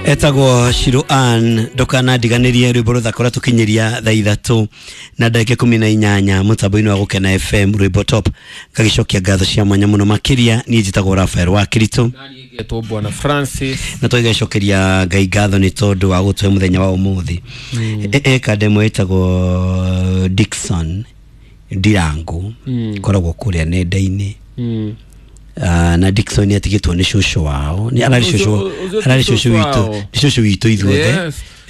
Etagwo Shiro Ann ndukana ndiganirie rwimbo ruthaka tukinyiria thaa ithatũ na ndagĩka 18 mũtambo-inĩ wa Gũkena FM rwimbo top. Ngagicokia ngatho cia mwanya mũno makĩria. Niĩ njĩtagwo Rafael wa Kirito ngetwo Bwana Francis na tũgĩcokeria Ngai ngatho nĩ tondũ wa gũtũhe mũthenya wa ũmũthĩ. Eka ndemwe ĩtagwo Dickson Ndirangu koragwo kũrĩa nenda-inĩ. Na Dickson atigĩtwo nĩ cũcũ wao, nĩ ararĩ cũcũ, ararĩ cũcũ witũ, nĩ cũcũ witũ ithuothe,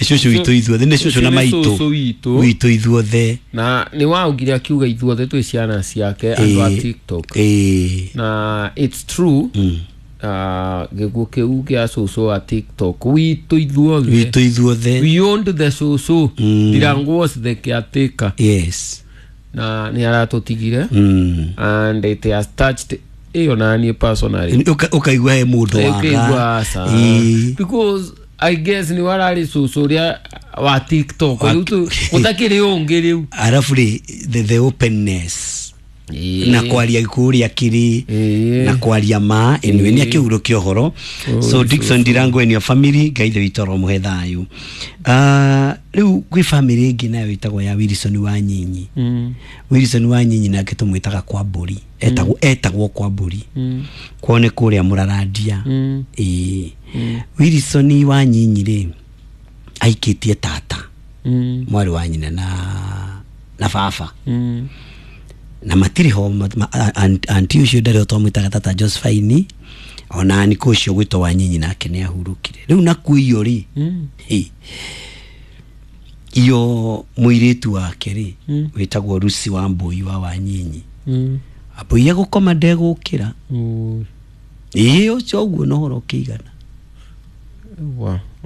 nĩ cũcũ witũ ithuothe, nĩ cũcũ na maitũ witũ ithuothe. Na nĩ waugire akiuga ithuothe twĩ ciana ciake andũ a TikTok. Na it's true. Gĩkuũ kĩu gĩa cũcũ wa TikTok witũ ithuothe, witũ ithuothe. We owned the cũcũ. Ndirangu was the caretaker. Yes. Na nĩ aratũtigire and it has touched ĩyo naniĩ personally. Ũkaigua he mũndũ waga, because I guess nĩ wararĩ cũcũ ũrĩa wa TikTok rĩu gũtakĩrĩ ũngĩ rĩu. Arabu rĩ, the openness na kwaria kũrĩa kĩrĩ na kwaria ma anyway nĩ akĩhurũkia ũhoro. So Dickson Ndirangu and your family, Ngai ithe witũ aromũhe thayũ. Rĩu gwĩ family ĩngĩ nayo ĩtagwo ya Wilson wa Nyinyi. Wilson wa Nyinyi nake tũmwĩtaga kwa mbũri, etagwo kwa mbũri, kwao nĩ kũrĩa Mũrarandia. Wilson wa Nyinyi rĩ aikĩtie tata, mwarĩ wa nyina na baba, na matirĩ ho. Anti ũcio ndarĩ ho, twamwĩtaga tata Josephine, ona niko ũcio gwĩtwo wa Nyinyi nake nĩ ahurũkire rĩu. Nakuo iyo rĩ, iyo mũirĩtu wake rĩ wĩtagwo Lucy wa Mbũi wa Wanyinyi, Mbũi egũkoma ndegũkĩra. Ĩĩ, ũcio ũguo na ũhoro ũkĩigana.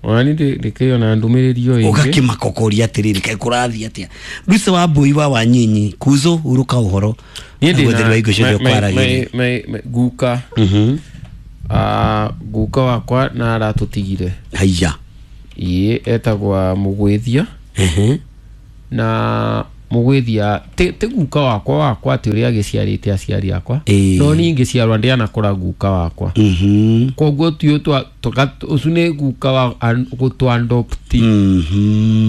Ona ni ndĩkĩona ndũmĩrĩri ĩyo ĩngĩ ũgakĩmaka ũkoria atĩrĩrĩ, kaĩ kũrathiĩ atĩa? Lucy wa Mbũi wa Wanyinyi kuzo hurũka ũhoro. Niĩ ndĩna guka, guka wakwa na aratũtigire. Haiya. Ĩĩ, etagwa Mũgwĩthia. Na Mũgwĩthia ti guka wakwa atĩ ũrĩa agĩciarĩte aciari akwa, no niĩ ngĩciarwa ndĩanakora guka wakwa, koguo ti ũcio nĩ guka wa gũtũ-adopt.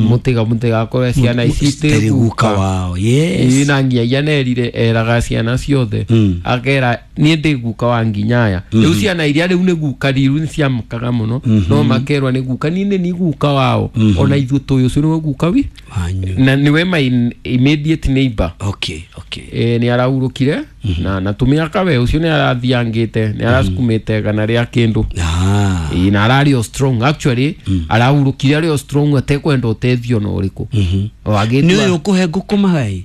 Mũtigakorwe ciana ici ti guka wao. Yes. Na nginya nerire eraga ciana ciothe, akera niĩ ndĩ guka wa nginya aya rĩu. Ciana iria rĩu nĩ guka riru nĩ ciamũkaga mũno, no makerwa nĩ guka, niĩ nĩ guka wao, ona ithuĩ tũĩ ũcio nĩwe guka wi na niwe my immediate neighbor. Okay. Nĩ arahurũkire na tũmĩaka we ũcio nĩ arathiangĩte, nĩ arasukumĩte gana rĩa kĩndũ. Na ararĩ o strong actually, arahurũkire arĩ o strong atekwenda ũteithio na ũrĩkũ. Nĩ ũyũ ũkũhe ngũkũ maĩ?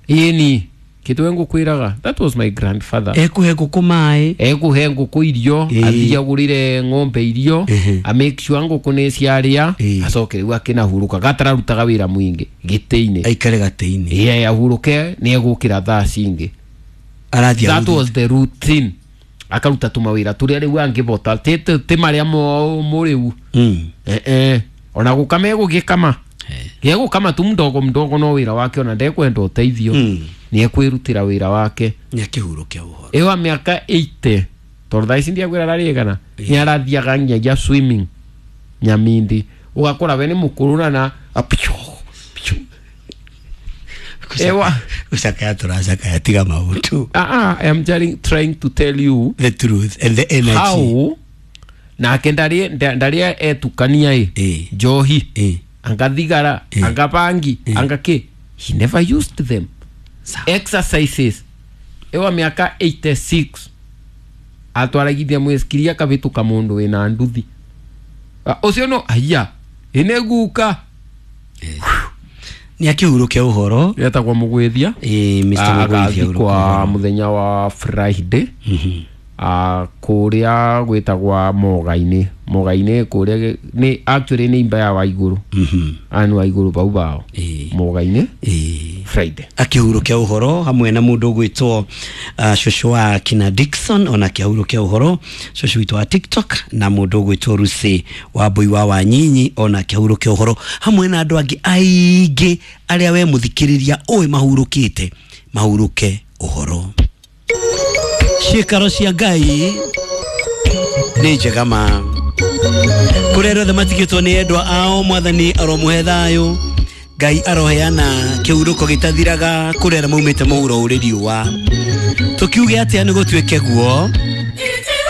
Ĩni kĩtwe ngũkwĩraga, that was my grandfather. Ekũhe ngũkũ maĩ, ekũhe ngũkũ irio, athiĩ agũrĩre ng'ombe irio, a make sure ngũkũ nĩ ciarĩa, acoke rĩu akĩnahurũka gatararutaga wĩra mũingĩ gĩtĩ-inĩ, aikare gatĩ-inĩ. Ĩĩ, ahurũke nĩ egũkĩra thaa cingĩ. Arathiĩ. That was the routine. Akaruta tũmawĩra tũrĩa rĩu angĩbota, ti marĩa mũrĩu. Ona gũkama egũgĩkama gĩegũkama tu mdogo mdogo, no wĩra wake ona ndekwenda ũteithio, nĩ ekwĩrutĩra wĩra wake. Nĩ akĩhurũkia ũhoro. Ĩwa mĩaka 80, tondũ thaa ici ndiakwĩra ararĩ nĩ arathiaga nginyagia swimming Nyamindi, ũgakora we nĩ mũkũrũ na ewa ucakaya tũracakaya, tiga maũndũ. I am trying to tell you the truth and the energy. How nake ndarĩ etukania ĩ njohi, anga thigara, anga bangi, anga kĩ, he never used them. Exercises. Ewa mĩaka 86 atwaragithia mwĩskiri akabĩtũka mũndũ wĩna nduthi ũcio no haiya ĩnĩ guka. Nĩ akĩhurũkia ũhoro. Etagwo Mũgwĩthia. Mr. Mũgwĩthia kwa mũthenya wa Friday kũrĩa gwĩtagwa Moga-inĩ, Moga-inĩ kũrĩa nĩ actually nĩ imba ya Waigũrũ, anu Waigũrũ bau bao Moga-inĩ Friday akĩhurũkia ũhoro hamwe na mũndũ ũgwĩtwo cũcũ wa kina Dickson, ona akĩhurũkia ũhoro cũcũ witũ wa TikTok, na mũndũ ũgwĩtwo Lucy wa Mbũi wa Wanyinyi, ona akĩhurũkia ũhoro hamwe na andũ angĩ aingĩ arĩa we mũthikĩrĩria ũĩ mahurũkĩte, mahurũke ũhoro. Ciĩkaro cia Ngai nĩ njega ma. Kũrĩa arĩa othe matigĩtwo nĩ endwa ao, mwathani aromuhe thayũ. Ngai aroheana kĩhurũko gĩtathiraga kũrĩa arĩa maumĩte mũhuro ũrĩ riũa. Tũkiuge atĩa nĩ gũtuĩke guo.